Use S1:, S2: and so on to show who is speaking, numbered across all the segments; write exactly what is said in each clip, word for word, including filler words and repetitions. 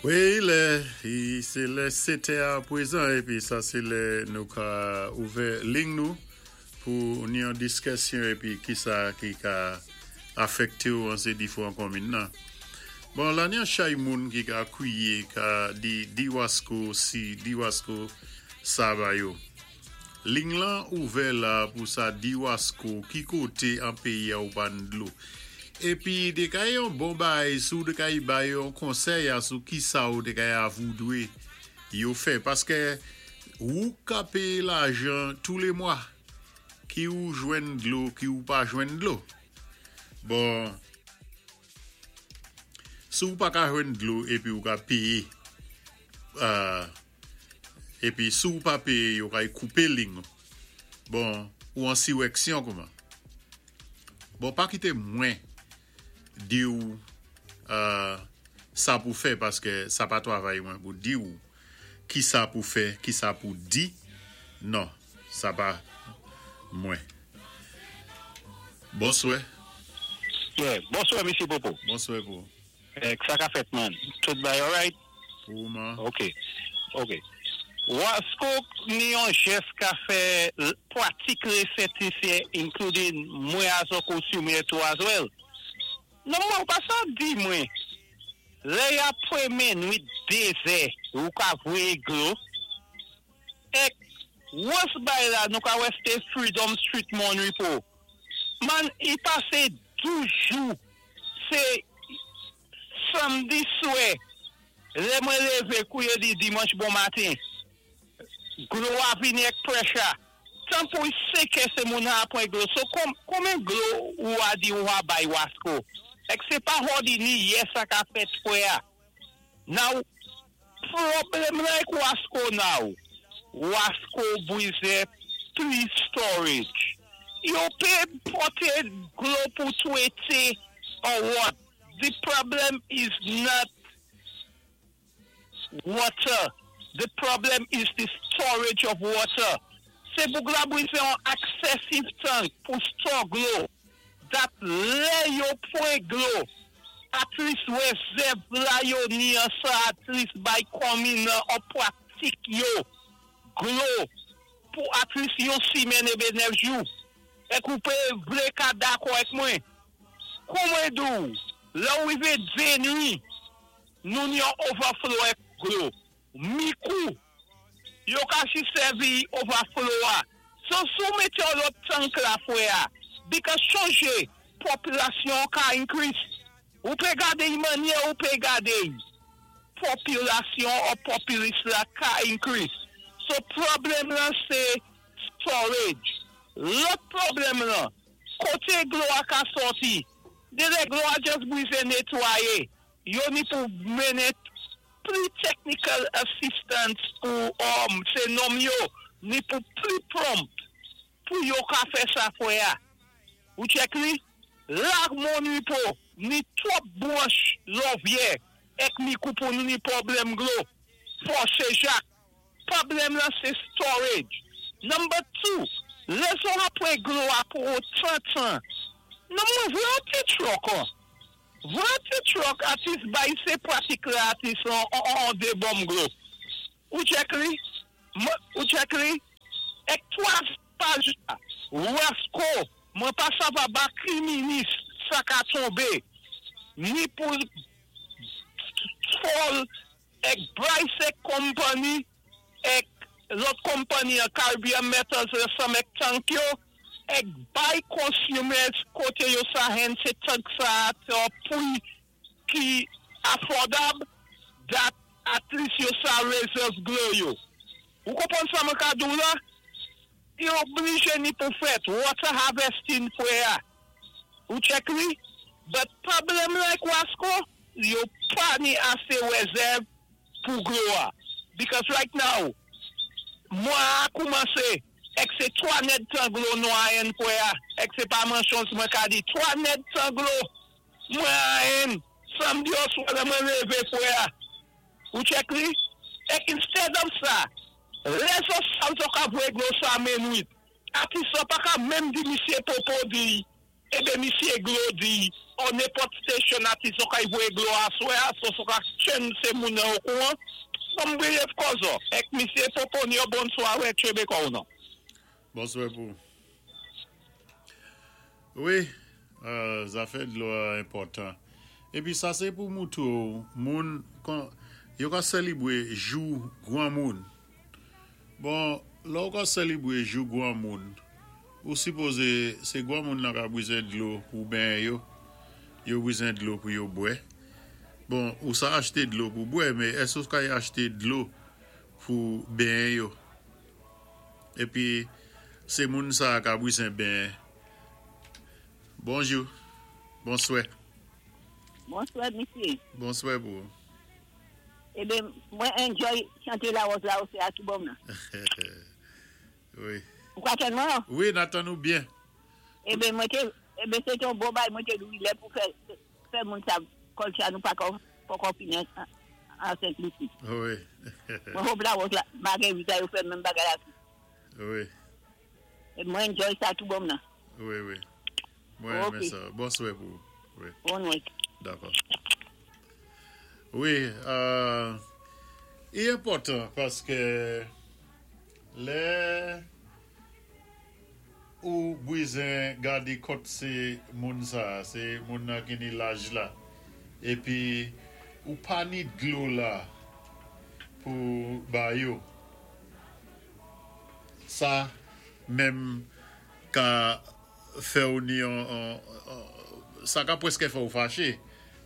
S1: Wi, lè, sé lè sèt è pwézan épi sa sé lè nou ka ouvè liy nou pou ni an diskisyon épi ki sa ki ka afèkté ou an sé diféwan konminn nan. Bon, la ni an chay moun ki ka kwiyé, ka di di Wasco si, di Wasco sa ba yo. Liy lan ouvè la pou sa di Wasco ki koté an péyi a ou pa ni dlo. Épi té ka yon bon bay sou té ka bay yon konsèy a sou ki sa ou té ka voudwé yo fè paské ou ka péyé lajan tou lé mwa ki ou jwenn dlo ki ou pa jwenn dlo. Bon, si ou pa ka jwenn dlo épi ou ka péyé euh, épi si ou pa péyé yo ka koupé liy. Bon, ou an siwèksyon kouman. Bon, pa kité mwen di ou euh, sa pou fè paské sa pa twavay mwen pou di ou ki sa pou fè, ki sa pou di. Non, sa pa mwen. Bonswè.
S2: Yeah, bonswè, Misyé Popo.
S1: Bonswè pou.
S2: Eh, sa ka fèt, man? Tout bay alright?
S1: Pou man.
S2: Ok, ok. Wasco ni yon jès ka fè pratik resèt sé including mwen as a consumer too as well. Non mwen pa sa di mwen. Lè ya pwé nwit dézè ou ka vwé dlo. Ek wòs bay la nou ka wè sé Freedom Street Mon Repos. Man, i pasé douz jou. Sé samdi swè. Lè mwen lévé kouwè di dimanch bon maten. Dlo a vini ek pressure. Tan pou séké sé moun a pwan dlo. So kon, konmen dlo ou a di ou a bay Wasco? Ek sé pa hodi ni yè sa ka fèt fwè a. Now, pwoblèm la ek Wasco now. Wasco bwizè plis storage. Yo pé pòté dlo pou twété or what? The problem is not water. The problem is the storage of water. Sé pou la bwizè an excessive tank pou store dlo. That lè yo pwan dlo. At least wézèv la yo ni an sa at least bay konminn an pratik yo dlo pou at least yon simèn ébé nèf jou. Ek ou pé vlé ka dakò ek mwen. Koumen dou, lè ou rivé denwi, nou ni an overflow ek dlo. Mikou, yo ka si sèvi overflow a. So sou mété yon lòt tank la fwè a, because chonjé, popilasyon ka increase. Ou pé gadé yi manyè ou pé gadé yi. Popilasyon ou populis la ka increase. So pwoblèm lan sé storage. Lòt pwoblèm lan, koté dlo a ka sòti, de lè dlo a just bwizé netwayé, yo ni pou mennen pli technical assistance pou um, sé nonm yo, ni pou pli prompt pou yo ka fè sa fwè a. Ou check li? Lag Mon Repos, ni twòp bwanch Lòvyè, ek Micoud pou nou ni pwoblèm dlo. Fòse Jak. Pwoblèm la sé storage. Number two, lè zòt apwé dlo a pou trant an. Non mwen vwé an ti truck an. Vwé an ti truck at least bay sé pratik la at least an, an, an dé bonm dlo. Ou check li? Mwen- Ou check li? Ek twa paj la, Wasco, mwen pa sa va ba ki minis sa ka tonbé. Ni pou Fall ek Bryce Company ek lòt company an Caribbean Metals ansanm ek tank yo ek bay consumers koté yo sa hen sé tank sa te pri ki affordable that at least yo sa reserve dlo yo. Ou konpwann sa mwen ka di ou la? Yo oblijé ni pou fèt water harvesting fwè a. Ou check li? But pwoblèm la ek Wasco, yo pa ni asé wézèv pou dlo a. Because right now, mwa a koumansé, ek sé twa nèdtan dlo nou a en fwè a. Ek sé pa manchons mwen ka di, twa nèdtan dlo, mwen a en, samdi oswa lè mwen lévé fwè a. Ou check li? Ek instead of sa, lè zòt sa zòt ka vwé dlo sa menwit. Ati sa pa ka menm di Misyé Popo di, Ébé misyé glo di, on nenpòt station ati so ka voyé glo aswè a, so so ka chen sé moun nan okouwan. Som brief kozo. Ek misyé Poponio, bonswa wè chebe kou non.
S1: Bonswa pou. Wi, euh, zafè dlo a enpòtan. Épi sa sé pou moutou, moun, kon, yo ka sélébwé jou gwan moun. Bon, lò ou ka sélébwé jou gwan moun, ou sipozé, sé gwan moun nan ka bizwen dlo pou benyen yo, yo bizwen dlo pou yo bwè. Bon, ou sa achté dlo pou bwè, mé èske ou ka achté dlo pou benyen yo? Épi, sé moun sa ka bizwen benyen. Bonjou, bonswè.
S3: Bonswa, misyé.
S1: Bonswè pou.
S3: Ébé, mwen enjoy chanté lawòz la osi a tou bon nan.
S1: Wi.
S3: Ou ka tann mwen?
S1: Wi, n ap tann ou byen.
S3: Ébé, mwen té, ébé, sé yon bon bay, mwen té dwi lè pou fè, fè moun sa kòlcha nou pa kon, pa kon fini an, an Sent-Lisi.
S1: Wi.
S3: Mwen hope lawòz la, Marguerite yo fè menm bagay la.
S1: Wi.
S3: É mwen enjoy sa tou bon nan.
S1: Wi, wi. Mwen
S3: Ok.
S1: renmen sa. Bonswa pou. Wi.
S3: Bonn nwit.
S1: Dakò. Wi, euh, i enpòtan paské lè ou bizwen gadé kont sé moun sa, sé moun nan ki ni laj la, épi ou pa ni dlo la pou ba yo. Sa menm ka fè ou ni an, an, an, sa ka pwèské fè ou faché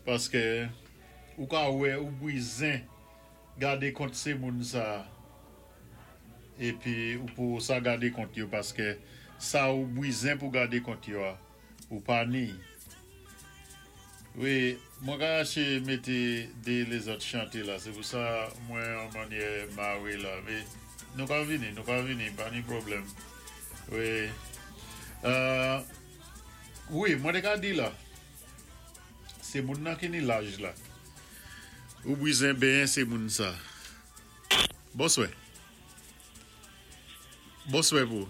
S1: paské ou ka wè ou bizwen gadé kont sé moun sa épi ou pou sa gadé kont yo paské sa ou bizwen pou gadé kont yo a, ou pa ni. Wi, mwen ka aché mété dé lézòt chanté la, sé pou sa mwen an mannyè mawé la, mé nou ka vini, nou ka vini, pa ni pwoblèm. Wi. Euh, wi, mwen té ka di la, sé moun nan ki ni laj la. Ou bizwen benyen sé moun sa. Bonswè. Bonswè pou.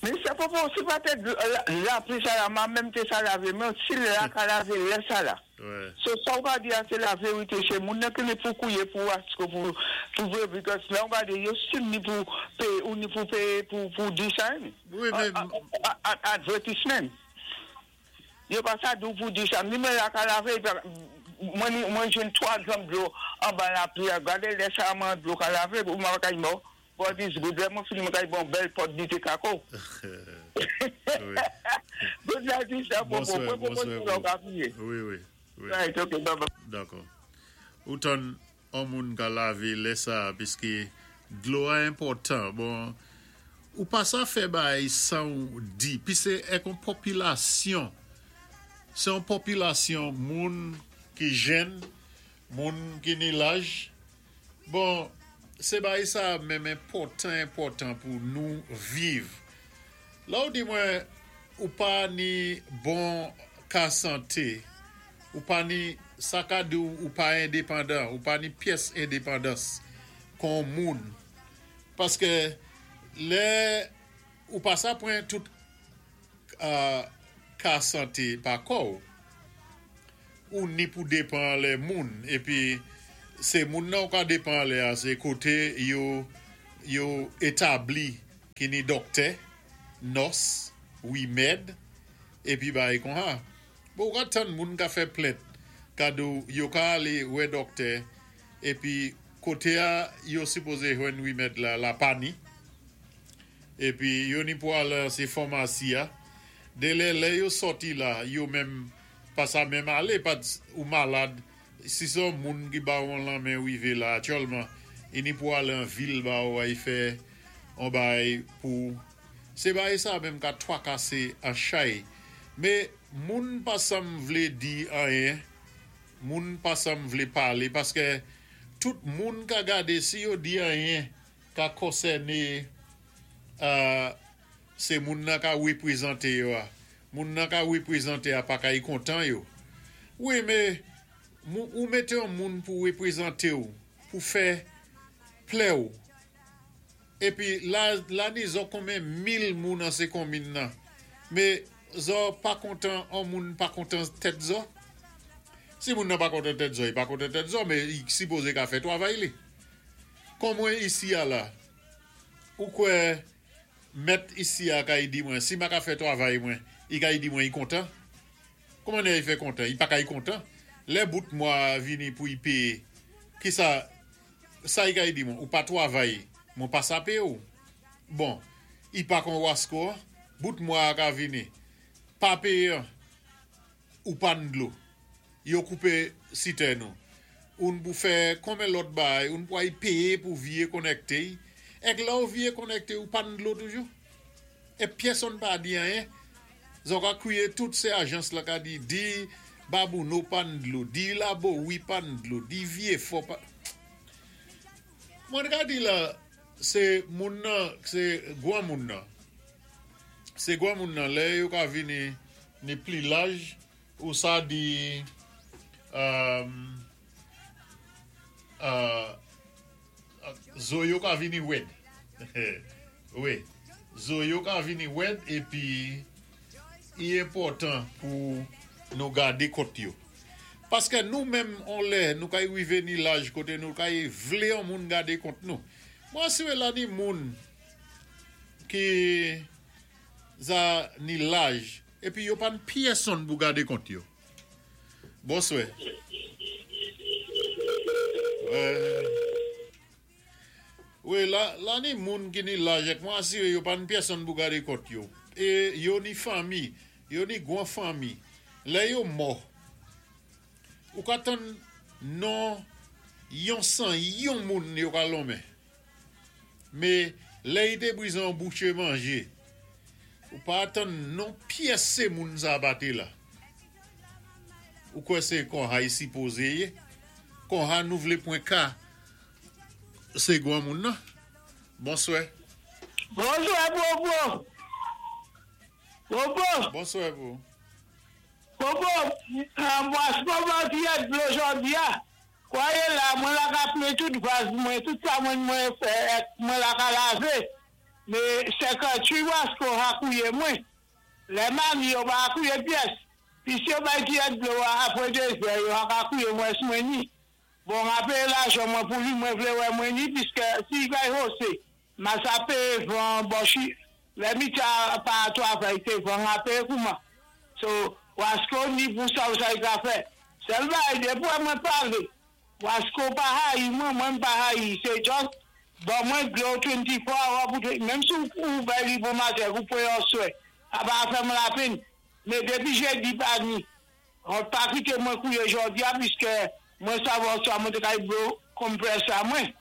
S4: Misyé Popo, si pa té la, lapli sa la, ma menm té sa lavé, men si la ka lavé, lè sa la.
S1: Ouais.
S4: So sa ou ka di a sé la vérité, sé moun nan ki ni pou kouwé pou asko pou pou vwé, because la ou gadé, yo still ni pou péyé, ou ni pou péyé pou, pou di sa, ni.
S1: Wi, mé
S4: Advertisement. Yo pa sa dou pou di sa. Ni mwen la ka lavé, mwen ni- mwen jwenn twa drum dlo anba lapli, gadé lè sa mwen dlo ka lavé, ou mwen kay mò. God is good. Lè mwen fini mwen kay bon bèl pot di té kako.
S1: Wi.
S4: Good night, Mister Popo.
S1: Bonswa,
S4: Mwen
S1: bonswa
S4: pou
S1: pou.
S4: ka priye.
S1: Wi, wi. Wi.
S4: Right, okay, bye bye.
S1: Dakò. Ou tann an moun ka lavé lè sa, piské dlo a enpòtan. Bon, ou pa sa fè bay san ou di. Pi sé ek an popilasyon. Sé an popilasyon moun ki jèn, moun ki ni laj. Bon, sé bay sa menm enpòtan, enpòtan pou nou viv. La ou di mwen, ou pa ni bon ka santé, ou pa ni sa ka di ou, ou pa endepandan, ou pa ni pyès endepandans kon moun. Paské lè ou pa sa pran tout euh, ka santé pa kò ou, ou ni pou dépan lè moun, épi sé moun nan ou ka dépan lè a, sé koté yo, yo établi ki ni doktè, nòs, wimèd, épi bay kon ha. Bon, ou ka tann moun ka fè plent, kado yo ka alé wè doktè, épi koté a yo sipozé jwenn wimèd la, la pa ni, épi yo ni pou al sé famasi a, dé lè lè yo sòti la, yo menm pa sa menm alé, pa ou malad, si son moun ki ba ou lan men wivé la, aktyèlman, i ni pou al an vil ba ou ay fè an bay pou, sé bay sa menm ka twakasé an chay. Mé moun pa sam vlé di anyen, moun pa sam vlé palé, paské tout moun ka gadé si yo di anyen ka konsèné euh, sé moun nan ka wépwézanté yo a. Moun nan ka wépwézanté a pa ka y kontan yo. Wi, mé mou, ou mété yon moun pou wépwézanté ou, pou fè plè ou. Épi la, la ni zo konbyen mil moun an sé konmin nan. Mé Zo pa kontan, an moun pa kontan tèt zo? Si moun nan pa kontan tèt zo, i pa kontan tèt zo, mé i sipozé ka fè twavay li. Kon mwen isi a la, ou kwè mèt isi a ka i di mwen, si ma ka fè twavay mwen, i ka i di mwen i kontan? Kouman i fè kontan? I pa ka i kontan? Lè bout mwa vini pou i péyé, ki sa, sa i ka i di mwen, ou pa twavay, mwen pa sa péyé ou? Bon, i pa kon wasko, bout mwa ka vini, pa péyé, ou pa n dlo. Yo koupé sitèn nou. Oun pou fè konmen lòt bay, oun pou ay péyé pou vyé konnèkté. Èk la ou vyé konnèkté ou pa n dlo toujou. É pyèsonn pa di anyen. Zo ka kwiyé tout sé ajans la ka di, di Babouno pa n dlo, di Labowi pa n dlo, di Vyé Fò pa... Mwen ka di la, sé moun nan, sé gwan moun nan. Sé gwan moun nan, lè yo ka vini ni pli laj, ou sa di um, uh, zo yo ka vini wèd. Wi, zo yo ka vini wèd épi i enpòtan pou nou gadé kont yo. Paské nou menm on lè, nou kay wivé ni laj koté nou kay vlé an moun gadé kont nou. Mwen asiré la ni moun ki za ni laj épi yo pa n pyèsonn pou gadé kont yo. Bonswè. Ouais. Wi, la, la ni moun ki ni laj èk mwen asiré yo pa n pyèsonn pou gadé kont yo. É yo ni fanmi, yo ni gwan fanmi. Lè yo mò. Ou ka tann non yon san yon moun yo ka lonmen. Mé lè i té bizwen bouché manjé. Ou pa tann non pyès sé moun sa pa té la. Ou kwè sé kon sa i sipozé yé? Kon sa nou vlé pwan ka sé gwan moun nan? Bonswè.
S2: Bonswè, Bobo. Bobo.
S1: Bonswè, pou.
S2: Bobo, mwen se pa dlo jòdi a. Kwayé la, mwen la ka plen tout vaz mwen, tout sa mwen mwen fè, mwen la ka lavé. Mé senkantwit wasko a kouyé mwen. Lè mami yo pa kouyé pyès. Pi si yo bay ti dlo apwé dézè, yo a ka kouyé mwen mwen ni. Bon, apwé lajan mwen pou li, mwen vlé wè mwen ni, piskè si kay hosé, ma sa péyé van bochi, lè mita pa twavay té van a péyé kouman. So, wasko ni pou sa ou sa i ka fè. Sèl bagay, dépwi mwen palé, wasko pa hayi, mwen mwen pa hayi, sé just, bon mwen dlo twenty-four hour pou, menm si ou bay li pou matè, ou pou yon swè, a pa fè m la pèn. Mé dépi jédi pa ni, on pa kité mwen kouyé jòdi a, piskè mwen savwa sa mwen té kay blow compressor mwen.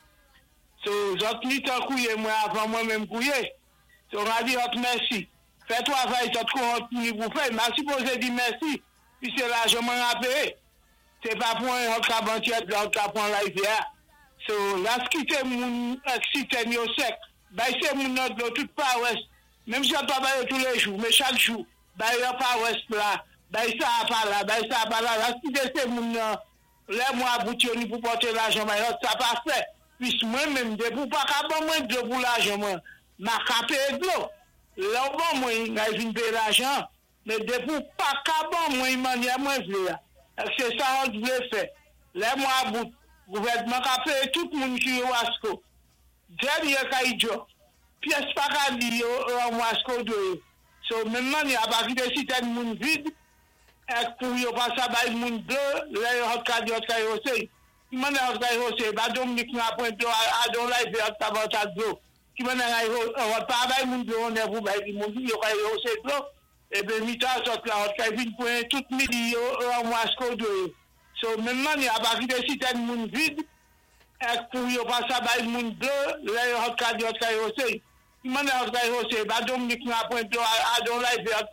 S2: So, zòt ni tan kouyé mwen avan mwen menm kouyé. So, on a di zòt mèsi. Fè twavay zòt kon ni pou fè, ma sipozé di mèsi, pi sé lajan mwen a péyé. Sé pa pou an hot ka bantyèt, la hot ka pwan la I V A. So, las kité moun ak sitèn yo sèk, bay sé moun nan dlo tout pawès, menm si yo pa bay yo tous les jours, mais chaque jour, bay yo pawès la, bay sa a pa la, bay sa a pa la, las kité sé moun nan, lè mwa bout yo ni pou pòté lajan bay yo, sa pa fè. Pis mwen menm, dépou pa ka ban mwen dlo pou lajan mwen, ma ka péyé dlo. Lè ou ban mwen, ngay vin péyé lajan, mé dépou pa ka ban mwen, mannyè mwen vlé a. Sé sa on vlé fè. Lè mwa bout, gouvèdman ka péyé tout moun ki yo wasko. Dènyé kay djo, pyès pa ka di yo an wasko dwé yo. So, menm mannyè a pa kité sitèn moun vid, èk pou yo pa sa bay moun dlo, lè yo hot ka di hot kay hosé. Ki mannyè hot kay hosé, ba Dominique nan pwen dlo, a don la ife hot ka ban sa dlo. Ki mannyè hot pa bay moun dlo, on è pou bay moun yo kay hosé dlo. Ébé mita sot la hot kay vin pwan tout midi yo an wasko dwé yo. So, menm mannyè a pa kité sitèn moun vid, èk pou yo pa sa bay moun dlo, lè yo hot ka di hot kay hosé. Ki mannyè hot kay hosé, ba Dominique nan pwen dlo, a don la ife hot ka